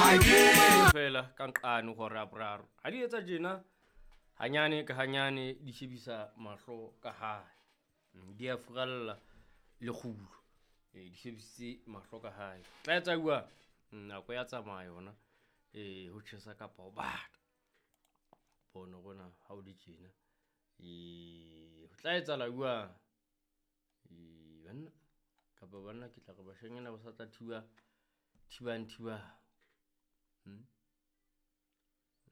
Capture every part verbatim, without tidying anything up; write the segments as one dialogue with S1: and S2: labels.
S1: Fela ka nqane hora ya boraro. Ha di etsa tjena hanyane ka hanyane di shebisa mahlo ka hae. Di a furalla lekgulo. E di shebisitse mahlo ka hae. Tla etsa jwang? Nako ya tsamaya yona. E ho tjhesa kapa ho bata. Pono rona ha o le tjena. E ho tla etsahala jwang? E banna kapa banna ke tla re bashanyana ba sa tla thiba thibang thibang. Hmm?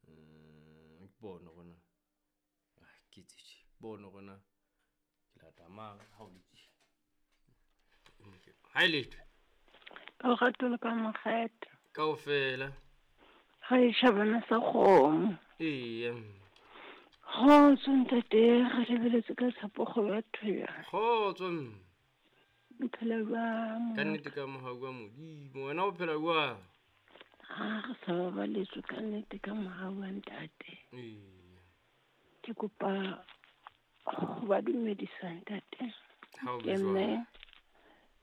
S1: Mm, pono rona. Ah, ke tse pono rona. Ke lata mang ha o le tjena. Ha e letho.
S2: Ka lerato le ka makgetho.
S1: Kaofela.
S2: Ga e shabana sa kgomo.
S1: Eya.
S2: Kgotso ntate, re lebeletse ka tshepo kgolo ya thoya.
S1: Kgotso mme.
S2: O phela jwang?
S1: Ka nnete ka mohau wa Modimo. Wena o phela jwang?
S2: Ha re sa babaletswe ka nnete ka mohau wa ntate.
S1: Eya.
S2: Ke kopa ho ba dumedisa ntate.
S1: Ha o
S2: Ke
S1: be jwang?
S2: mme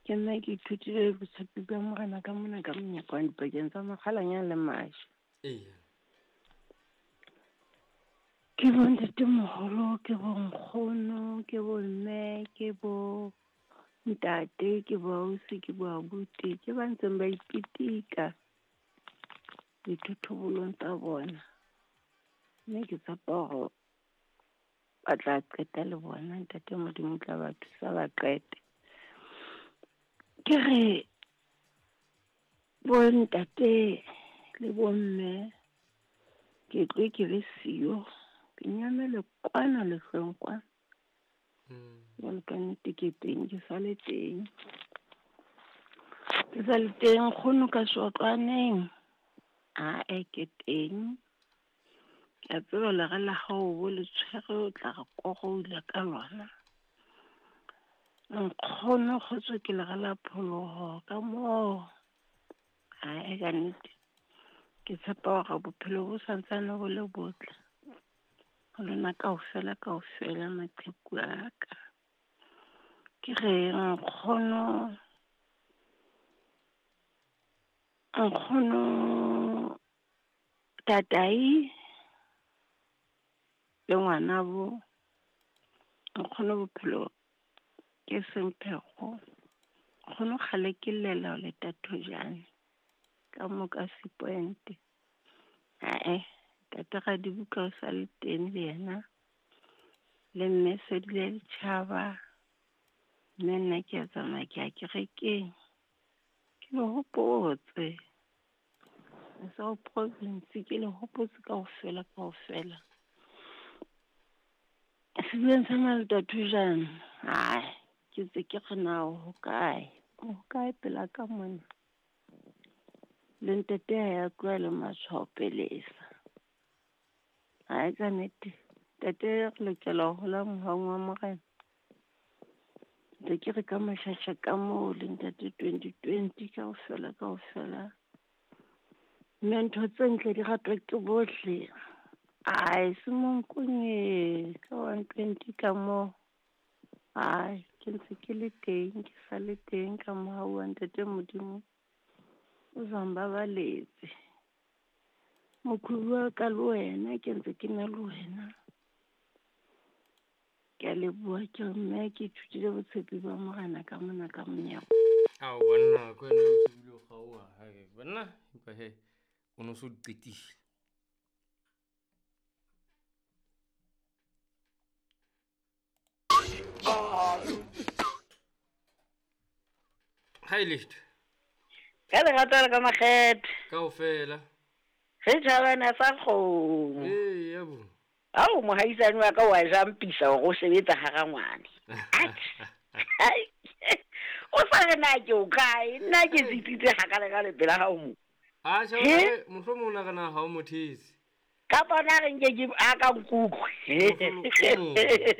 S2: ke nna ke ithutile botshepi ba Morena ka mona ka monyakwane dipakeng tsa Makgalanyane le Majwe.
S1: Eya.
S2: Ke bo ntatemoholo, ke bo nkgono, ke bo mme, ke bo ntate, ke bo ausi, ke bo abuti, ke ba ntseng ba ipitika dithothobolong tsa bona. Mme ke tshepa hore ba tla qeta le bona, ntate Modimo o tla ba thusa ba qete. Ke re bo ntate le bo mme ke tlo ke be siyo, ke nyamele kwana lehlweng kwana. Jwale ka nnete ke teng, ke sa le teng. Ke sa le teng nkgono ka Sotlwaneng. Ae ke teng. Ke a tseba lere la hao bo le tshwere o tla re koroula ka lona. Nkgono kgotso ke lere la pholoho ka moo. Ae ka nnete. Ke tshepa hore bophelo bo santsane bo le botle. Ho lona kaofela kaofela maqheku a ka. Ke re nkgono, nkgono tatai le ngwanabo, nkgono bophelo ke semphego. Nkgono kgale ke llela ho leta thojane ka mo ka Sepoint. Ae, ntate Radibuka o sa le teng le yena. Le mme Sedile Letjhaba. Mme nna ke a tsamaya ke ya kerekeng. Ke le hopotse. Sa province ke le hopotse kaofela kaofela. Sedibeng sa Malota Thojane. Ai, ke tse ke re na ho kae? Ho kae pela ka mona? Le ntate ha ya tloha le matshwao pelesa. Ai ka nnete. Ntate re lokela ho hola mohaung wa Morena. Ntse ke re ka mashasha ka moo le ntate twenty twenty kaofela kaofela. Mme ntho tse ntle di ratwa ke bohle. Ai, se monkonye ka one twenty ka moo. Ai, ke ntse ke le teng, ke sa le teng ka mohau wa ntate Modimo. O sa mbabaletse. Mokhubu wa ka le wena, ke ntse ke na le wena. Ke a leboha ke re mme ke ithutile botshepi ba Morena ka mona ka monyako.
S1: Ao banna, ke wena o se bile o kgaoha. Hai, banna, empa he, o no so di qetile. Ha e letho.
S3: Ka lerato le ka makgethe.
S1: Kaofela.
S3: Re tjhabana sa kgomo.
S1: Ee, bo.
S3: Ao mohaisane wa ka wa jampisa hore o sebetsa hara ngwane. Ai. O sa re na ke o kae? Nna ke tsitsitse hakale-kale pela hao mo.
S1: Ha tjhe, mohlomong o nahana ha o mothetse.
S3: Kapa na re nke ke a ka nkutlwe.